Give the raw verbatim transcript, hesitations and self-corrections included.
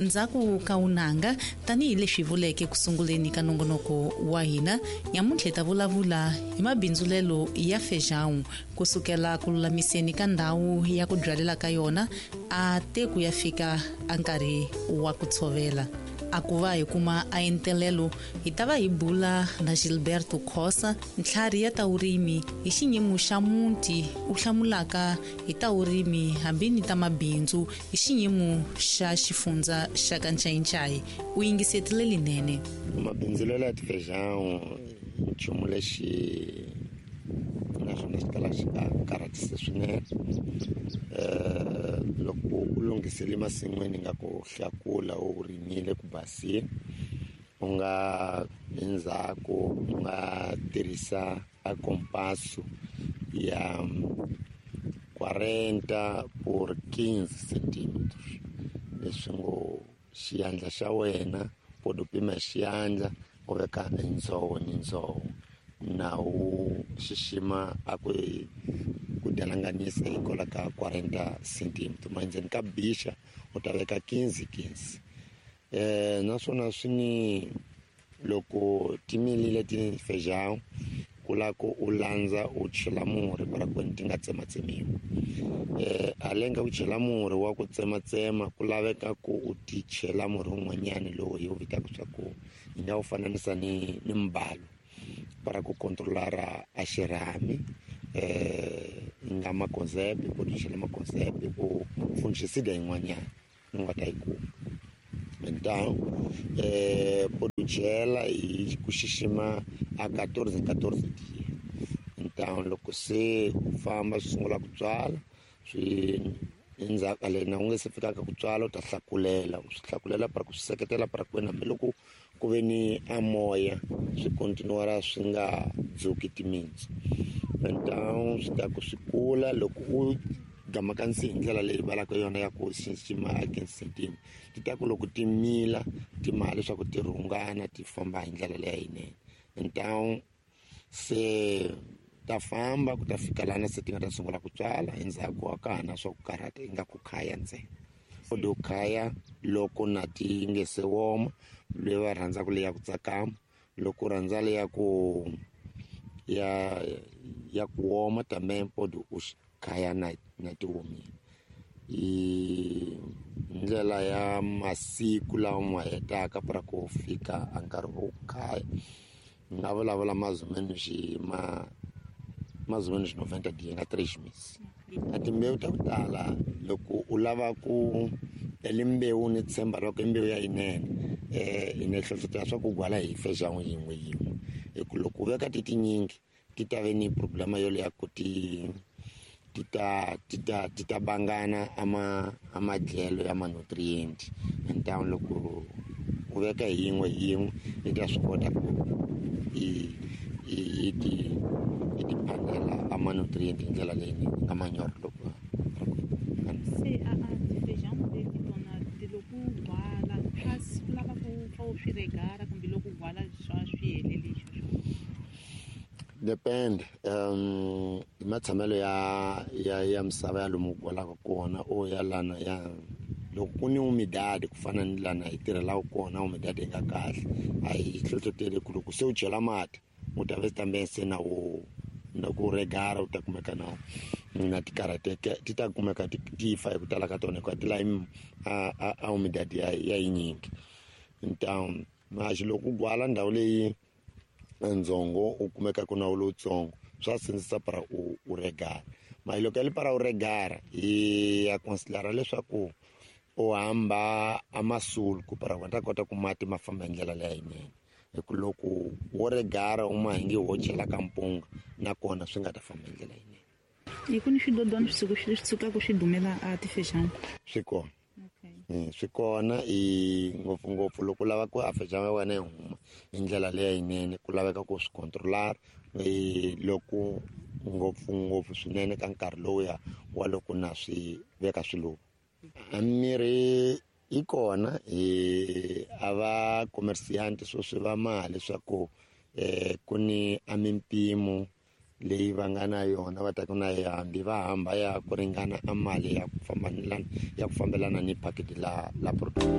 Ndzhaku ka unanga tanihileswi vuleke ku sunguleni ka nongonoko wa hina nyamuntlha hi ta vulavula hi mabindzulelo ya feijão kusukela ku lulamiseni ka ndhawu ya ku byalela ka yona a te ku ya fika a nkarhi wa ku tshovela. A ku va hi kuma a entelelo hi ta va hi bula na Gilberto Khosa, ntlhari ya ta vurimi hi xiyimo xa muti u hlamulaka hi ta vurimi hambi ni ta mabindzu hi xiyimo xa xifundza xa ka Ncayincai. U yingisetile linene. Mabindzulelo ya tifeijão nchumu lexi naswona xi kala xi nga karhatisi swinene. Loko u lunghisile masin'wini nga ku hlakula u rimile ku basile, u nga endzhaku u nga tirhisa a compasso ya quarenta por quinze centímetros, leswi ngo xiyandla xa wena u pima xiyandla u veka ndzoho ni ndzoho na u xixima a ku ku dalanganisa hi kola ka quarenta centímetros, ma endzeni ka bixa u ta veka quinze quinze. Eh naswona swi ni loko ti milile ti feijão ku la ku u landza u chela murhi para ku ti nga tsematsemiwi. Eh alenga u chela murhi wa ku tsematsema ku laveka ku u ti chela murhi wun'wanyani lowu hi wu vitaka swa ku hi nga wu fananisa ni ni mbalo para ku controlar a xirhami. Eh nga maconcept ku ti chela maconcept u fungicide yin'wanyana u nga ta yi kuma. Então eh u chela hi ku xixima a quatorze quatorze dia. Então loko se u famba swi sungula ku tswala swi endzhaku le na u nge se fikaka ku tswala u ta hlakulela u swi hlakulela para ku swi seketela para ku wena hambiloko ku ve ni a moya swi continuara swi nga dzuki timitsu. Então swi ta ku swi kula loko u gamaka nsi hi ndlela leyi valaka yona ya ku xixima a quinze centímetros, ti ta ku loko ti mila ti mala leswaku ti rhungana ti famba hi ndlela leyi yinene. Então se ta famba ku ta fika lana se ti nga ta sungula ku tswala endzhaku a ka ha na swa ku karhata ingaku khaya ntsena. U khaya loko na ti nge se woma, leyi va rhandzaka leyi ya ku tsakama, loko u rhandza leyi ya ku ya ya ku woma também pode u khaya na na ti womile. Hi ndlela ya masiku lawa ma hetaka para ku fika a nkarhi wo khaya ni nga vulavula mais ou menos ma mais ou menos noventa dias nga três meses. A timbewu ta ku tala loko u lava ku ele mbewu ni tshemba loko i mbewu ya yinene eh hi ne hlohlotela swa ku gwala hi feijão yin'we yin'we, hi ku loko u veka ti tinyingi ti ta ve ni problema yoleyo ya ku ti ti ta ti ta ti ta bangana ama amadyelo ya ma-nutrient. Então loko u veka hi yin'we hi yin'we yi ta swi kota ku i i ti i ti phamela a ma-nutrient hi ndlela leyinene nga manyoro loko se a a tifeijão leti tona ti loko u gwala kasi ku lava ku pfa u swi regara kumbe loko u gwala swa swi helele sweswo. Depend um hi matshamelo ya ya ya misava ya lomu gwalaka kona o ya lana ya loko ku ni humidade ku fana ni lana hi tirhelaka kona humidade yi nga kahle a hi hlohloteli ku loko se u chela mati u ta ve também se na wo na ku regara u ta kumeka na na ti karhateke ti ta kumeka ti fa hi ku tala ka tona hikuva ti lavi a a humidade ya ya yinyingi. Então mas loko u gwala ndhawu leyi ndzongo u kumeka ku na wu lowutsongo swa sindzisa para u u regara. Mara loko ya le para u regara hi ya considera leswaku u hamba a masulku para u ta kota ku mati ma famba hi ndlela leyi yinene, hi ku loko wo regara u ma hi nge wo chela ka mpunga nakona swi nga ta famba hi ndlela yinene. Hi ku ni swidodwana swi swi sukaka swi dumela a tifeijão swi kona swi kona i ngopfungopfu loko u lava ku a feijão ya wena yi huma hi ndlela leyi yinene ku laveka ku swi controlar loko ngopfungopfu swinene ka nkarhi lowuya wa loko na swi veka swiluva. A mirhi yi kona hi a va commerciante swo swi va mali leswaku eh ku ni a mimpimo leyi va nga na yona va ta ku na hambi va hamba ya ku ringana a mali ya ku fambelana ya ku fambelana ni package la la product.